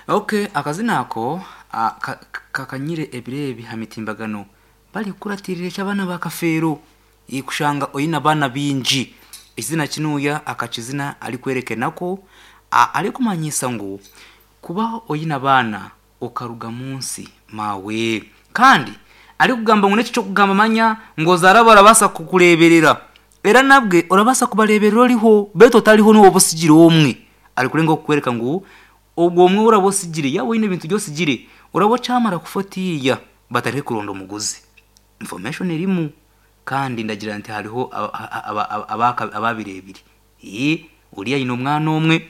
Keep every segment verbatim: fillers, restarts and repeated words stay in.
Okay, akazina ako ah, ka- kakanyire ebiro ebi ha mitimbagano barikukuratirira eky'abaana ba Kafeero kushanga oine abaana baingi. Ekizina kinuuya akakizina arikwerekanako arikumanyisa ngu kuba oine abaana okaruga munsi maawe. Kandi arikugamba ngu n'eki ky'okugamba manya ngu ozaara barabaasa kukureeberera era nabwe orabaasa kubareeberera oriho beitu otariho niiwe oba otsigire omwe. Arikurenga kukworeka ngu ogwo omwe ou oraba otsigire yaaba oine ebintu ebi otsigire oraba okyamara kufa otiiya batandike kuronda omuguzi. Information erimu kandi ndagira nti hariho ababireebire. Oriya aine omwana omwe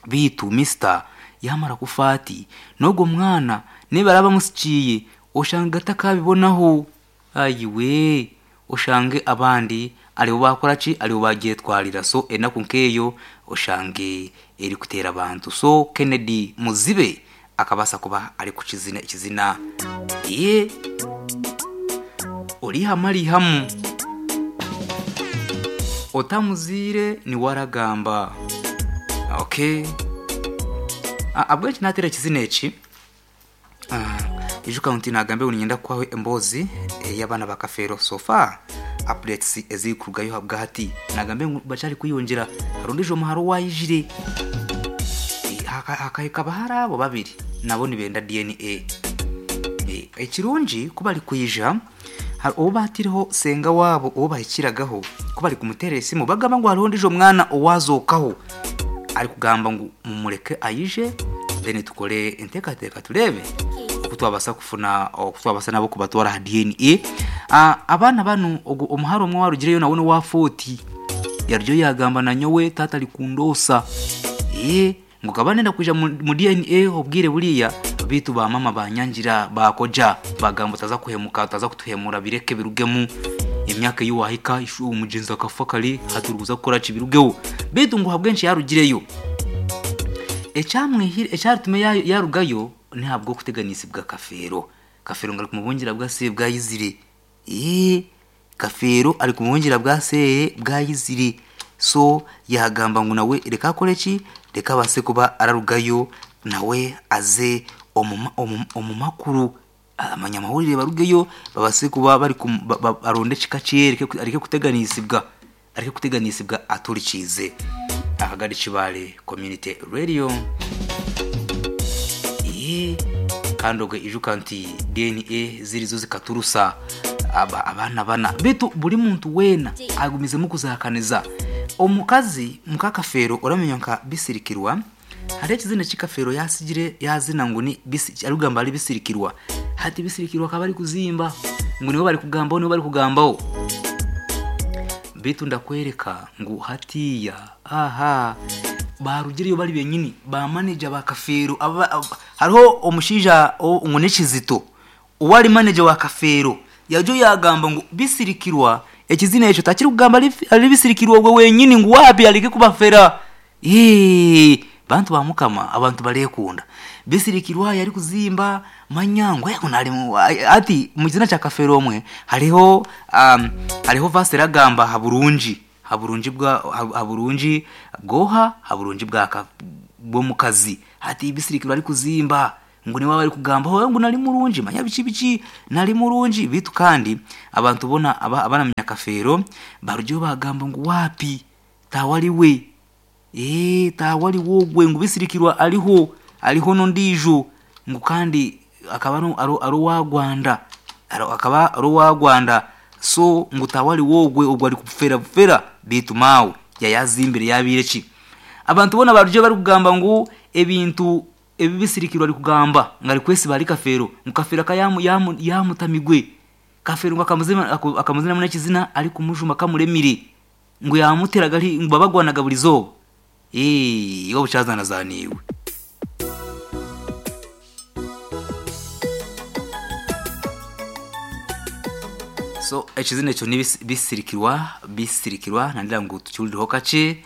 beitu mister yaamara kufa ati n'ogwo mwana n'ebi araba amutsikiire oshange atakabibonaho ayiwe oshange abandi aribo baakoraki aribo baagyetwarira. So enaku nk'eyo oshange erikuteera abantu. So Kennedy Muzibe akabaasa kuba arikukizina ekizina orihamu arihamu otamuziire niwe aragamba. Okay, ahabw'enki naateera ekizina eki ijuka nti naagambe ngu niinyenda kukuhaho emboozi ey'abaana ba Kafeero so far updates ezirikurugayo ahabwahati naagambe ngu bakyari kweyongyera hariho ondiijo muhara owaayijire hakahika abahara abo babiri nabo nibenda D N A. Ekirungi ku barikwija ou baatireho senga waabo ou bahikiragaho ku barikumuteerera esimu bagamba ngu hariho ondiijo mwana owazookaho arikugamba ngu mumureke aije then tukore enteekateeka tureebe oku twabaasa kufuna oku twabaasa nabo kubatwara aha D N A. Abaana banu ogu omuhara omwe owarugireyo nawe n'owa forty yarugayo yaagamba nanyowe taata arikundoosa ngu nkaba ndenda kwija mu D N A obwire buriya beitu ba mama banyangira baakoja bagamba otaza kuhemuka, otaza kutuhemura, bireke birugemu. Emyaka ei waahika omugyenzi akafa kare hati orikuza kukoraki? Birugeho. Beitu ngu ahabw'enki yarugireyo, ekyaritume yarugayo n'ahabw'okuteganisibwa Kafeero. Kafeero ngu arikumubungira bwase bwayizire, Kafeero arikumubungira bwase bwayizire, so yaagamba ngu nawe reka akoreki, reka abaase kuba ararugayo nawe aze omu makuru abanyamahurire barugeyo babaase kuba baronde ekika kye areke kuteganisibwa areke kuteganisibwa aturikiize Akagari Kibaale Community Radio. Kandi obwe ijuka nti D N A zirizo zikaturusa abaana bana, beitu buri muntu weena agumizemu kuzihakaniza. Omukazi muka Kafeero oramenya nka Bisirikirwa, hariho ekizina eki Kafeero yaasigire yaazina ngu ni arikugamba ari Bisirikirwa. Hati Bisirikirwa akaba arikuzimba ngu niwe barikugambaho, niwe barikugambaho, beitu ndakwereka ngu hatiiya aha barugireyo bari benyini ba manager ba Kafeero. Hariho omushaija ngu n'Ekizito owari manager wa Kafeero yarugayo yaagamba ngu Bisirikirwa ekizina ekyo takirikugamba ari Bisirikirwa ogwe wenyini, ngu waabi areke kubafera. Bantu ba Mukama, abantu bareekunda. Bisirikirwa yarikuzimba manya ngu hati omu kizina kya Kafeero omwe hariho hariho verse eragamba aha burungi ha burungi bwa ha burungi bw'oha, ha burungi bw'omukazi. Hati Bisirikirwa arikuzimba ngu niwe barikugambaho ngu nari murungi manya biki biki nari murungi, beitu kandi abantu boona abaramanya Kafeero barugireyo bagamba ngu waapi taawe ariwe, taawe ariwe ogwe, ngu Bisirikirwa ariho ariho n'ondiijo, ngu kandi akaba ari owa Rwanda, akaba ari owa Rwanda, so ngu taawe ariwe ogwe, ogwe arikufera bufera. Beitu maawe yaayazimbire yaabiire ki, abantu boona barugireyo barikugamba ngu ebintu ebi Bisirikirwa arikugamba ngu arikwesiba ahari Kafeero, ngu Kafeero akaba yaamutamigwe. Kafeero ngu akamuzinamu n'ekizina arikumujuma kamuremire, ngu yaamuteraga ngu babagwanaga buri izooba, iwe obukyazanazaaniibwe. So ekizina ekyo ni Bisirikirwa, Bisirikirwa nandira ngu tukihurireho kakye.